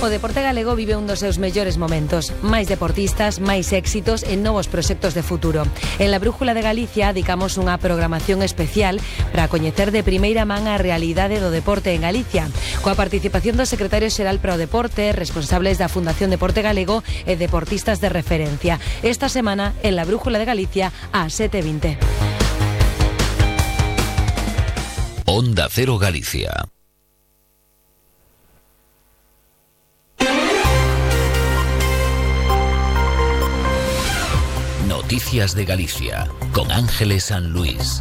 O deporte galego vive un dos seus mellores momentos. Máis deportistas, máis éxitos e novos proxectos de futuro. En la Brújula de Galicia dedicamos unha programación especial para coñecer de primeira man a realidade do deporte en Galicia, coa participación do secretario xeral para o deporte, responsables da Fundación Deporte Galego e deportistas de referencia. Esta semana, en la Brújula de Galicia, a 7:20. Onda Cero Galicia. Noticias de Galicia, con Ángeles San Luis.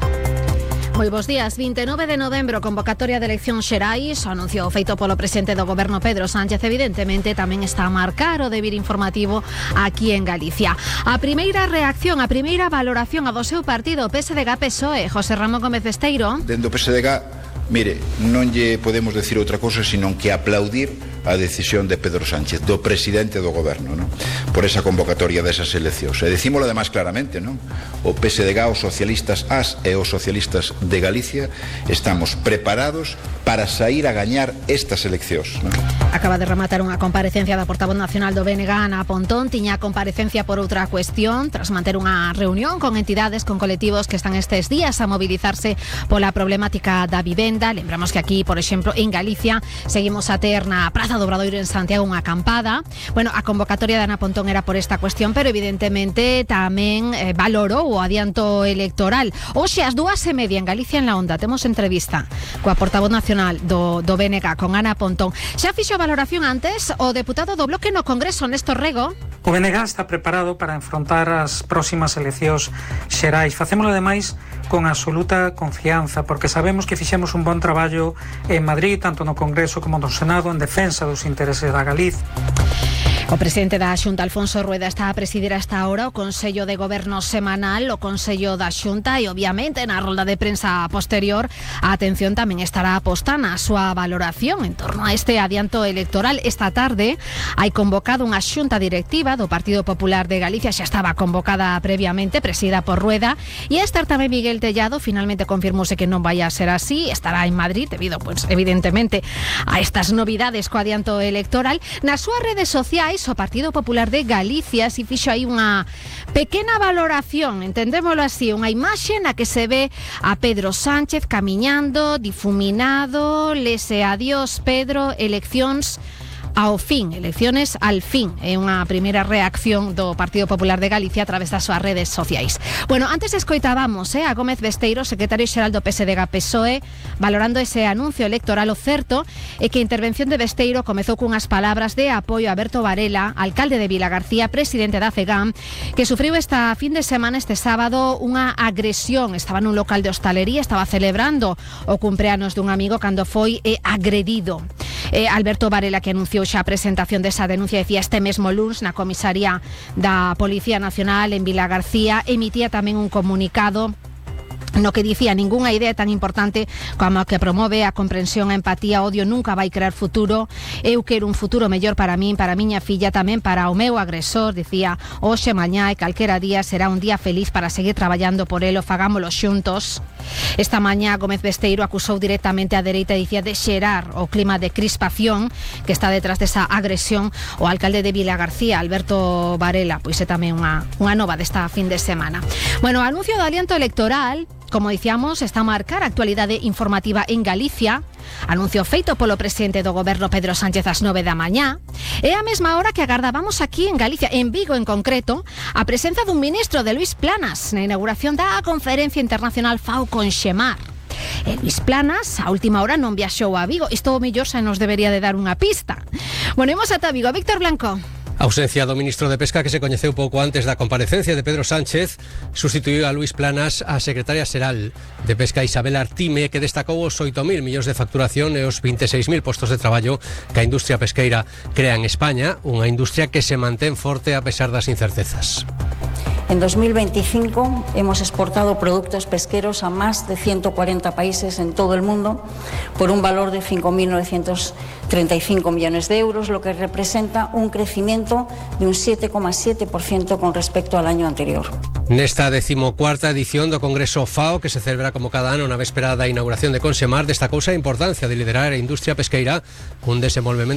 Moi bos días. 29 de novembro, convocatoria de eleccións xerais. O anuncio feito polo presidente do goberno Pedro Sánchez evidentemente tamén está a marcar o deber informativo aquí en Galicia. A primeira reacción, a primeira valoración a do seu partido, PSDG-PSOE, José Ramón Gómez Besteiro. Dentro do PSDG, mire, non lle podemos decir outra cousa senón que aplaudir a decisión de Pedro Sánchez, do presidente do goberno, non? Por esa convocatoria desas eleccións. E decímolo ademais claramente, non? O PSDG, os socialistas as e os socialistas de Galicia estamos preparados para sair a gañar estas eleccións, non? Acaba de rematar unha comparecencia da portavoz nacional do BNG, Ana Pontón. Tiña comparecencia por outra cuestión, tras manter unha reunión con entidades, con colectivos que están estes días a mobilizarse pola problemática da vivenda. Lembramos que aquí, por exemplo, en Galicia, seguimos a ter na Praza do Obradoiro en Santiago unha acampada. Bueno, a convocatoria de Ana Pontón era por esta cuestión, pero evidentemente tamén valorou o adianto electoral. Hoxe ás 2:30 en Galicia en la Onda temos entrevista coa portavoz nacional do BNG, con Ana Pontón. Xa fixo a valoración antes o deputado do Bloque no Congreso, Néstor Rego. O BNG está preparado para enfrontar as próximas eleccións xerais. Facémolo ademais con absoluta confianza, porque sabemos que fixemos un bon traballo en Madrid, tanto no Congreso como no Senado, en defensa dos intereses da Galicia. O presidente da Xunta, Alfonso Rueda, está a presidir a esta hora o Consello de Goberno semanal, o Consello da Xunta, e obviamente na rolda de prensa posterior a atención tamén estará posta na súa valoración en torno a este adianto electoral. Esta tarde hai convocado unha xunta directiva do Partido Popular de Galicia, xa estaba convocada previamente, presidida por Rueda, e a estar tamén Miguel Tellado. Finalmente confirmouse que non vai a ser así, estará en Madrid debido, pues, evidentemente a estas novidades co adianto electoral. Nas súas redes sociais, o Partido Popular de Galicia si fixo aí unha pequena valoración, entendémolo así, unha imaxe na que se ve a Pedro Sánchez camiñando, difuminado, lese adiós Pedro, eleccións ao fin, elecciones al fin. É unha primeira reacción do Partido Popular de Galicia a través das súas redes sociais. Bueno, antes escoitábamos a Gómez Besteiro, secretario xeral do PSDG-PSOE, valorando ese anuncio electoral. O certo é que a intervención de Besteiro comezou cunhas palabras de apoio a Alberto Varela, alcalde de Vilagarcía, presidente da CEGAM, que sufriu esta fin de semana, este sábado, unha agresión. Estaba nun local de hostalería, estaba celebrando o cumpleanos dun amigo cando foi agredido. Alberto Varela, que anunciou xa a presentación desa denuncia, decía este mesmo luns na comisaría da Policía Nacional en Vilagarcía, emitía tamén un comunicado no que dicía: ningunha idea tan importante como a que promove a comprensión, a empatía, o odio nunca vai crear futuro. Eu quero un futuro mellor para min, para a miña filla, tamén para o meu agresor. Dicía: hoxe, mañá e calquera día será un día feliz para seguir traballando por ele, fagámolo xuntos. Esta mañá Gómez Besteiro acusou directamente a dereita, dicía, de xerar o clima de crispación que está detrás desa agresión. O alcalde de Vilagarcía, Alberto Varela, pois é tamén unha nova desta fin de semana. Bueno, o anuncio do aliento electoral, como dicíamos, está a marcar a actualidade informativa en Galicia. Anuncio feito polo presidente do goberno Pedro Sánchez ás 9 da mañá. É a mesma hora que agardábamos aquí en Galicia, en Vigo en concreto, a presenza dun ministro, de Luís Planas, na inauguración da Conferencia Internacional FAO con Xemar. Luís Planas, a última hora, non viaxou a Vigo. Isto o mellor xa nos debería de dar unha pista. Bueno, imos ata Vigo. Víctor Blanco. A ausencia do ministro de Pesca, que se coñeceu pouco antes da comparecencia de Pedro Sánchez, sustituiu a Luís Planas a secretaria xeral de Pesca, Isabel Artime, que destacou os 8.000 millóns de facturación e os 26.000 postos de traballo que a industria pesqueira crea en España, unha industria que se mantén forte a pesar das incertezas. En 2025 hemos exportado productos pesqueros a más de 140 países en todo el mundo por un valor de 5.935 millones de euros, lo que representa un crecimiento de un 7,7% con respecto al año anterior. Nesta 14ª edición do Congreso FAO, que se celebra como cada ano na véspera da inauguración de Consemar, destacouse a importancia de liderar a industria pesqueira cun desenvolvemento